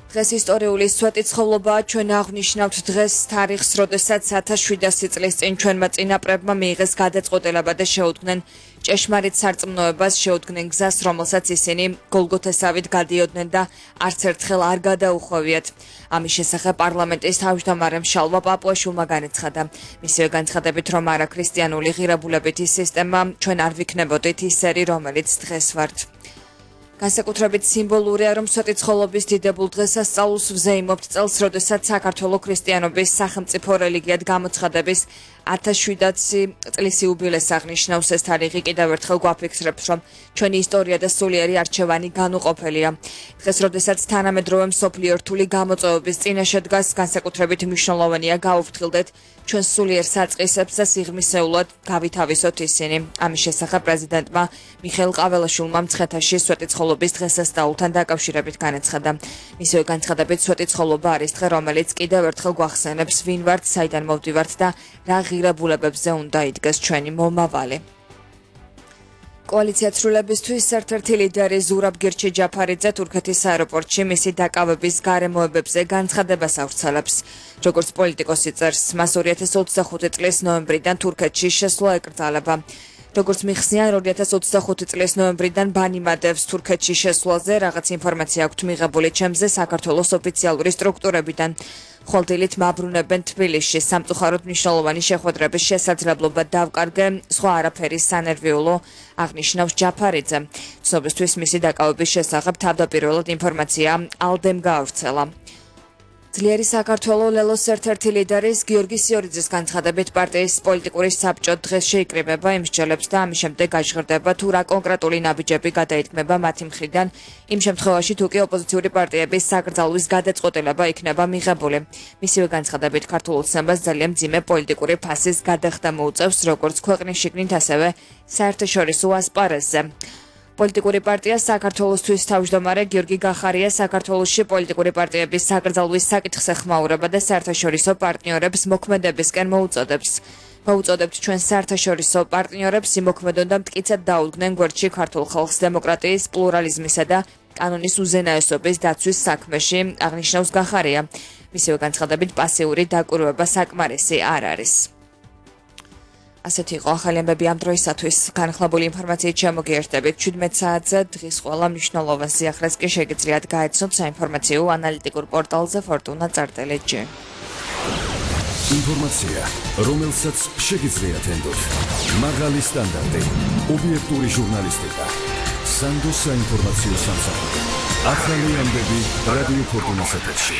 დღეს ისტორიული სვეტიცხოვლობაა ჩვენ აღვნიშნავთ დღეს თარიღს, როდესაც 1700 წლის წინ ჩვენმა წინაპრებმა მიიღეს გადაწყვეტილება და შეუდგნენ ჭეშმარიტ სარწმუნოებას, შეუდგნენ გზას, რომელსაც ისინი გოლგოთესავით გადიოდნენ და არც ერთხელ არ გადაუხვევიათ. ამის შესახებ პარლამენტის თავმჯდომარემ შალვა პაპუაშვილმა განაცხადა. მისივე განცხადებით, რომ არაქრისტიანული ღირებულებითი სისტემა ჩვენ არ ვიქნებოდით ისერი, რომელიც დღეს ვართ. განსაკუთრებით სიმბოლურია, რომ სვეტიცხოვლობის დიდებულ დღესასწაულს ვზეიმობთ წელს, როდესაც საქართველოს ქრისტიანობის სახელმწიფო რელიგიად გამოცხადების 1700 წლის იუბილეს აღნიშნავს. ეს თარიღი კიდევ ერთხელ გვაფიქსირებს, რომ ჩვენი ისტორია და სულიერი არჩევანი განუყოფელია. დღეს, როდესაც თანამედროვე მსოფლიო რთული გამოწვევების წინაშე დგას, განსაკუთრებით მნიშვნელოვანია გავუფრთხილდეთ ჩვენ სულიერ საწყისებს და სიღრმისეულად გავითავისოთ ისინი. ამის შესახებ პრეზიდენტმა მიხეილ ყაველაშვილმა მცხეთაში სვეტიცხოვლობის დღესასწაულთან დაკავშირებით განაცხადა. მისივე განცხადებით, სვეტიცხოვლობა არის დღე, რომელიც კიდევ ერთხელ გვახსენებს, ვინ ვართ, საიდან მოვდივართ და რა ღირებულებებზე უნდა იდგეს ჩვენი მომავალი. კოალიცია ცვლილებისთვის ერთ-ერთი ლიდერი ზურაბ გირჩი-ჯაფარიძე თურქეთის აეროპორტში მისი დაკავების გარემოებებზე განცხადებას ავრცელებს. როგორც პოლიტიკოსი წერს, მას 2025 წლის ნოემბრიდან თურქეთში შესვლა ეკრძალება. როგორც მიხსნიან, 2025 წლის ნოემბრიდან ბანიმადევს თურქეთში შესვლაზე რაღაც ინფორმაცია აქვთ მიღებული ჩემზე საქართველოს ოფიციალური სტრუქტურებიდან. ხოლდილით მაბრუნებენ თბილისში, სამწუხაროდ მნიშვნელოვანი შეხვედრების შესაძლებლობა დავკარგე, სხვა არაფერი სანერვიულო, აღნიშნავს ჯაფარიძე. ცნობისთვის მისი დაკავების შესახებ თავდაპირველად ინფორმაცია ალდემ გაავრცელა. ძლიერი საქართველოს ლელოს ერთ-ერთი ლიდერის გიორგი სიორიძის განცხადებით პარტიის პოლიტიკური საბჭო დღეს შეიკრიბება იმ მსჯელებს და ამის შემდეგ გაჟღერდება თუ რა კონკრეტული ნაბიჯები გადაითქმება მათი მხრიდან იმ შემთხვევაში თუ კი ოპოზიციური პარტიების საკრძალვის გადაწყვეტილება იქნება მიღებული. მისივე განცხადებით ქართულ ოცნებას ძალიან მძიმე პოლიტიკური ფასის გადახდა მოუწევს როგორც ქვეყნის შიგნით, ასევე საერთაშორისო ასპარეზზე. პოლიტიკური პარტია საქართველოსთვის თავმჯდომარე გიორგი გახარია საქართველოში პოლიტიკური პარტიების საკრძალვის საკითხს ეხმაურება და საერთაშორისო პარტნიორებს მოქმედებისკენ მოუწოდებს. მოუწოდებთ ჩვენ საერთაშორისო პარტნიორებს იმოქმედონ და მტკიცედ დაუდგნენ გვერდში ქართულ ხალხს დემოკრატიის, პლურალიზმისა და კანონის უზენაესობის დაცვის საქმეში, აღნიშნავს გახარია. მისივე განცხადებით, პასიური დაკვირვება საკმარისი არ არის. ასეთი იყო ახალი ამბები ამ დროისათვის. განხლებული ინფორმაციით შემოგიერთდებით 17 საათზე. დღის ყველა მნიშვნელოვან სიახლეს კი შეგიძლიათ გაეცნოთ საინფორმაციო ანალიტიკურ პორტალზე fortuna.lg. ინფორმაცია, რომელსაც შეგიძლიათ ენდოთ. მაღალი სტანდარტი, ობიექტური ჟურნალისტიკა. სანდო საინფორმაციო სამსახური. ახალი ამბები რადიო ფორტუნას ეთერში.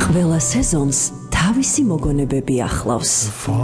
ყველა სეზონს თავისი მოგონებები ახლავს.